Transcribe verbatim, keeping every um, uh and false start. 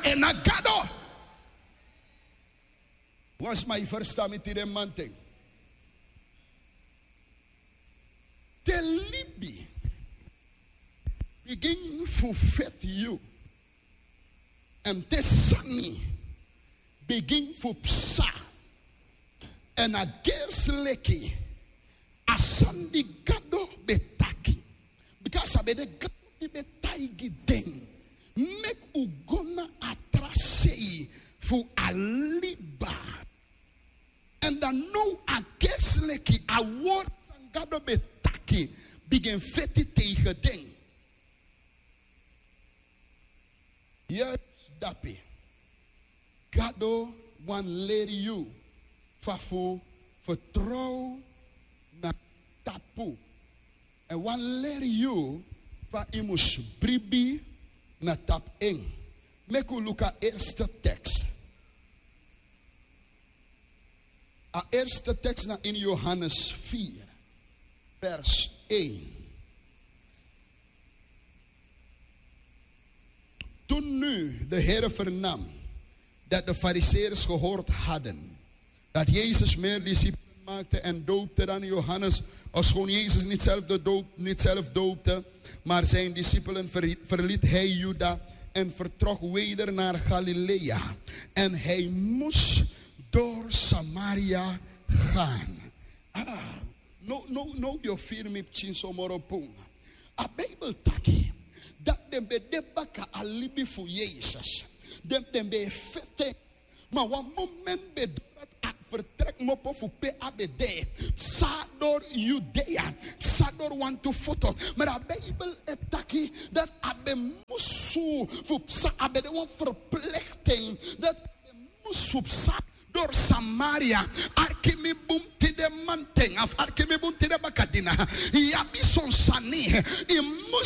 En na gado. Wan sma, yu ferstan mi tide manten? Te libi bigin fu feti yu, èn te sani bigin fu psa, èn a gersi leki a sani di Gado ben taki, bika a sa ben de Gado di ben taigi den meki un go na a tra sei fu a liba. Èn dan now a gersi leki a word san Gado ben taki bigin feti tegen den. Yu e si dape, Gado wani leri yu fa fu fertrow na tapu. Èn wani leri yu fa yu mus bribi na tapu en. Meki un luku a erste teks. A eerste tekst na in Johannes vier, vers één. Toen nu de Heer vernam dat de Farizeeërs gehoord hadden dat Jezus meer discipelen maakte en doopte dan Johannes, ofschoon Jezus niet zelf, de doop, niet zelf doopte, maar zijn discipelen, ver- verliet hij Juda en vertrok weder naar Galilea. En hij moest door Samaria gaan. Ah, no, no, no, yu o firi mi pikinso moro bun. A Bijbel taki dat den ben de baka a libi fu Jezus. Den, den ben feti. Ma wan moment ben doro, a fertrek kmopo fu pe a ben de, psa doro Judea, psa doro wantu foto. Ma a Bijbel e taki dat a ben musu fu psa, a ben de wan verplichting dat a ben musu psa doro Samaria. Arki mi bun tide manten, of arki mi bun tide bakadina. Yu abi son sani yu mus